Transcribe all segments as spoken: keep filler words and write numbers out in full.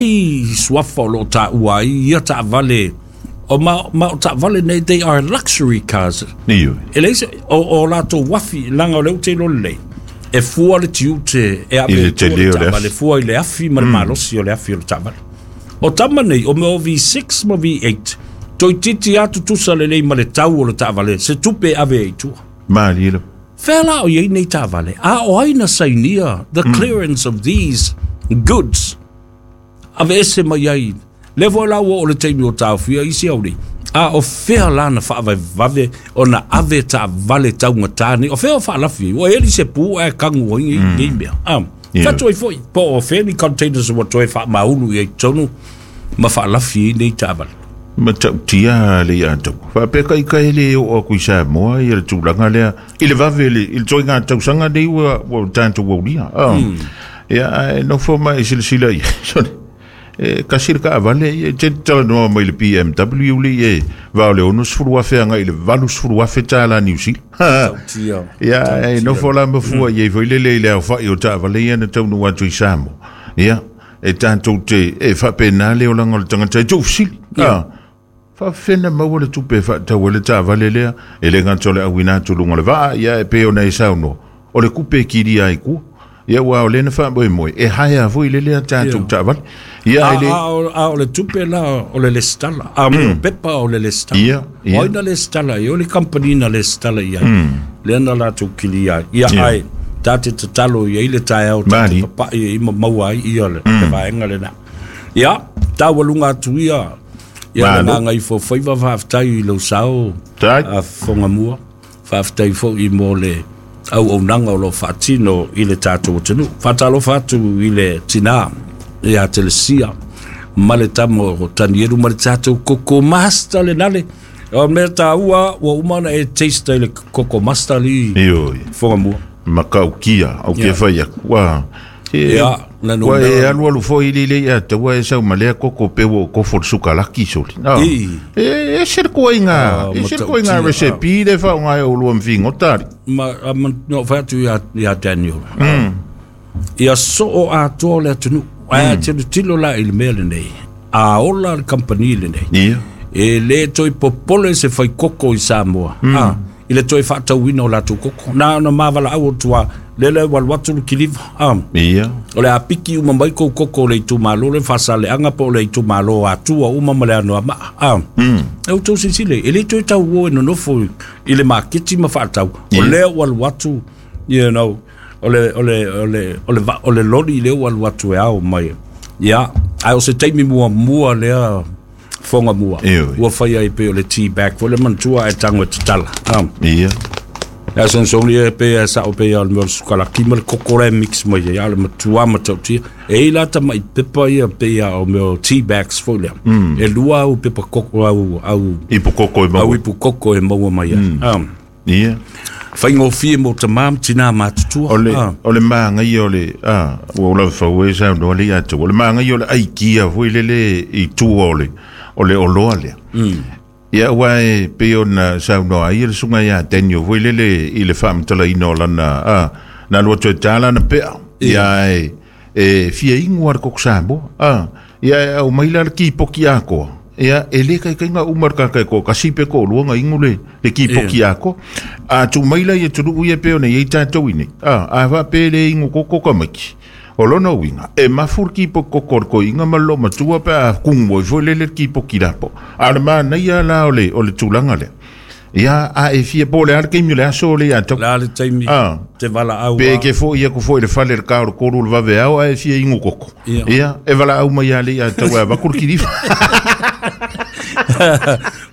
Suafa o loo taua ai ia taavale o ma, ma o taavale nei, they are luxury cars. Ioe. E leai se o, o latou afi laga o lea ou te iloa lelei e fua le tiute e ave I le i tua tele o le taavale afi. Fua i le afi ma le malosi o le afi o le taavale. O tama nei o mea o V six ma V eight toeitiiti atu tusa lelei ma le tau o le taavale se tupe e ave ai i tua. Malie lava. Fea la o iai nei taavale a o ai na sainia the clearance of these goods ave ese mai ai le foi la ua o le taimi o taofia isi auli a o fea la na faavavevave ona ave taavale taugatā nei o fea o faalafi ai ua eli se pu ae kagu ai nei mea a Ioe. fatu ai foi po o fea ni containers ua toe faamaulu i ai tonu ma faalafi ai nei taavale. Ma tautia le ia tau. Faapea kai kai le o aku i Samoa ia le tulaga lea. I le vave le, i le toiga tausaga nei ua, ua tātou aulia. Ah. Ia, ai nofo mai i silasila ia. Sorry. E, kasi le kaavale, ia, te talanoa mai le B M W le e, va o le ono sefulu afe anga i le valu sefulu afe tālā Niu Sila. Tautia. Ia, e nofo la mafua ia i foi lele i le au whai o taavale ia na taunu atu i Samoa. Ia, e tātou te, e whapena le o langa o le tangata e tau fisili. Ah. Faafena maua le tupe e faatau ai le taavale lea e le gata o le auina atu luga o le vaa ia e pei ona e saunoa o le kupe e kilia ai kua ia ua o lena faamoemoe e haea foi le lea tatou Ia. taavale ia A, e le a, o, a o le tupe la o le lesitala a mm. pepa o le lesitala. Ia, ia. O ai na lesitala ai o le company na lesitala i ai lea na latou kilia ai ia Ia. ai ta te tatalo i ai le taeao ta te Mali. papa'i ai ma maua ai ia le, le vaega lena ia taualuga atu ia ia le Malo. gaga ifo faiva. Faafetai i lou sao Tai. a Fogamua, faafetai foi mo le auaunaga o loo faatino i le tatou atunuu. Faatalofa atu i le tinā ia Telesia ma le tama o Tanielu ma le tatou koko master lenale o mea taua ua uma ona e taste i le koko master li Ioe. Fogamua. Makaukia au ke Ia. fai aku ua e Ia, na ua e numera. alu alu foi le le ia taua e sau ma lea koko pe ua kofo le sukalaki soli. Ah. I. E e se ko inga Ah, e se ko inga matautia, recipe le fa ngai o lua mfingo tari. Ma a ma no fai atu ia ia Daniel mm. ia soo atoa le atunuu ae mm. tilo la i le mea lenei a ola le company lenei Ia. e le toe popole se fai koko i Samoa mm. ah, i le toe faatauina o latou koko na ona mavalaau o tua lele walu atu le kiliva ah. Ia. O le apiki uma mai kou koko o le itumalo le Fasaleaga po o le itumalo Atua uma ma le Anoamaa ah. mm. E outou silasila e le toe tau o e nonofo i le maketi ma faatau o Yeah. lea ua alu atu you know o le o le o le o le, va- o le loli lea ua alu atu e ao mai ia ae o se taimi muamua lea Fogamua Ioe. ua fai ai pei o le tea bag foi le manatua e tago e tatala ah. Ia. Ia son son ia pe ia sa o pe ia o le mea o le sukalaki ma le koko le mix mai ia le matua matautia. E i la tamai pepa ia pe ia o mea o tea bags foi lea. E lua au pepa koko au au Ipu koko e au maua. ipu koko e maua mai ai. Ah. Ia. Faigofie mo tamā ma tinā matutua. O le Ah. o le maga ia o le a ua o lava fau e saunoa le ia atu. O le maga ia o le aikia foi lele i tua o le o le oloa lea. Ia ua e pei ona saunoa ai le susuga ia Daniel foi lele i le faamatalaina o lana a na lua toe tā lana pea. Ia e e fia igu a le koko Samoa. A ia e au mai la le kipoki akoa. Ia e le kaikaiga uma le kakai ko kasi pe ko lua nga ingu le le kipoki akoa. A tu mai la ia tulu ia pe ona ia i tātou i nei. A a fa pe le ingu koko ka maki. O lona uiga, e mafu le kipoki koko o le koiga ma le loomatua pe a kugu ai foi lele le kipoki lapo. A o le manaia la o le, o le tulaga lea. Ia, a e fia po o le a le taimi o le aso o le ia tau. La le taimi Ah. te valaau Pe a- ke fo ia ku fo i le fale le ka o le kolu le vave ao a e fia ingu koko. Ia. Ia, e valaau mai ia le ia tau e avaku le kilifa.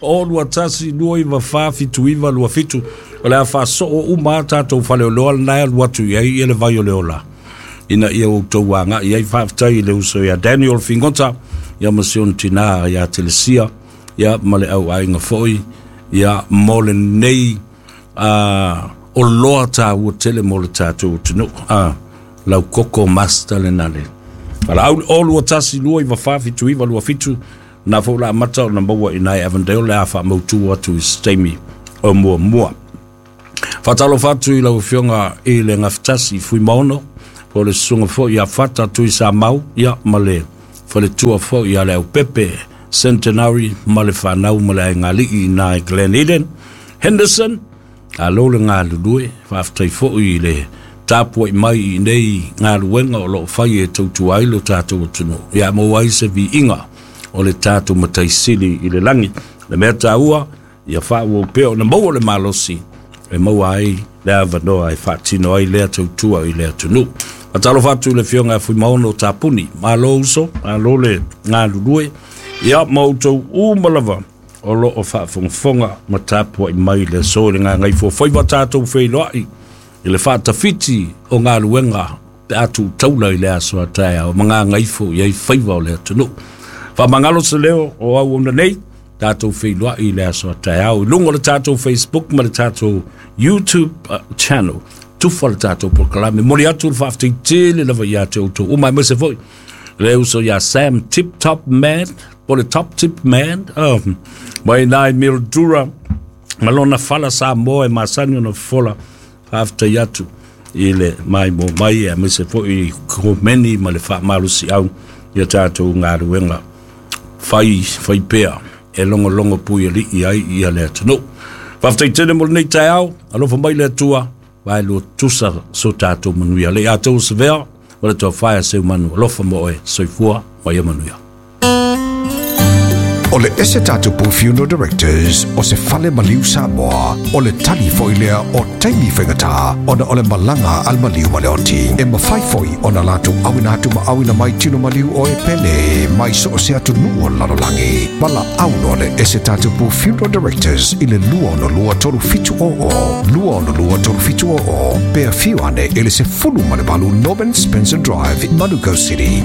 O lua tasi lua iva fa fitu iva lua fitu o le a faasoo uma a tatou faleoloa lena e alu atu i ai ia le vai o le ola ina ia outou agaʻi ai. Faafetai i le uso ia Daniel Figota ia ma si ona tinā ia Telesia ia ma le auaiga foi ia mo lenei uh, oloa tāua tele mo le tatou atunuu uh, lau koko master lena le valaau o lua tasi lua iva fa fitu iva lua fitu na fou la amata ona maua i nai Avondale le a faamautu atu i se taimi o muamua. Faatalofa atu i lau afioga i le Gafetasi Fuimaono po o le susuga foi ia Fata Tui Samau ia ma le Faletua fo'i ia le Aupepe Centenary ma le fanau ma le aigali'i i ina i Glen Eden Henderson. Alo le galulue, faafetai fo'i i le tapua'i mai i nei galuega o loo fai e tautua ai lo tatou atunuu ia maua ai se viiga o le tatou Mataisili i le lagi. Le mea taua ia faaauau pea ona maua le malosi e maua ai le avanoa e faatino ai lea tautua i le atunuu. Faatalofa atu i le Afioga ia Fuimaono Tapuni, malo uso, malo le galulue, ia ma outou uma lava o loo faafogafoga ma tapua'i mai le aso i le gagaifo faiva tatou feiloa'i i le faatafiti o galuega pe a tuutaula i le aso a taeao ma gagaifo i ai faiva o le atunuu. Faamagalo se leo o auauna nei, tatou feiloa'i i le aso a taeao i luga o le tatou Facebook ma le tatou YouTube uh, channel. Tufa le tatou polokalame. Moli atu le faafetai tele lava ia te outou uma, aemaise foi le uso ia Sam Tip Top Man po le Top Tip Man um, mai nai Mildura ma lona fala Samoa e masani ona fola. Faafetai atu i le maimoa mai aemaise foi komeni ma le faamalosiau ia tatou galuega fai fai pea e logologo pui alii ai ia le atunuu. Faafetai tele mo lenei taeao, alofa mai le Atua vaelua tusa so tatou manuia le ia tou savea ma le toafae a Seumanu. Alofa mo oe, soifua ma ia manuia. O le ese tatou Funeral Directors o se fale maliu Samoa, o le tali foi lea o taimi faigata ona o le malaga al maliu ma le oti. E mafai foi ona latou auina atu ma auina mai tino maliu o e pele mai so o se atunuu o le lalolagi. Valaau loa le ese tatou Funeral Directors i le lua ono lua tolu fitu o o, lua ono lua tolu fitu o o, pe afio ane i le sefulu ma le valu Norman Spencer Drive, Manukau City.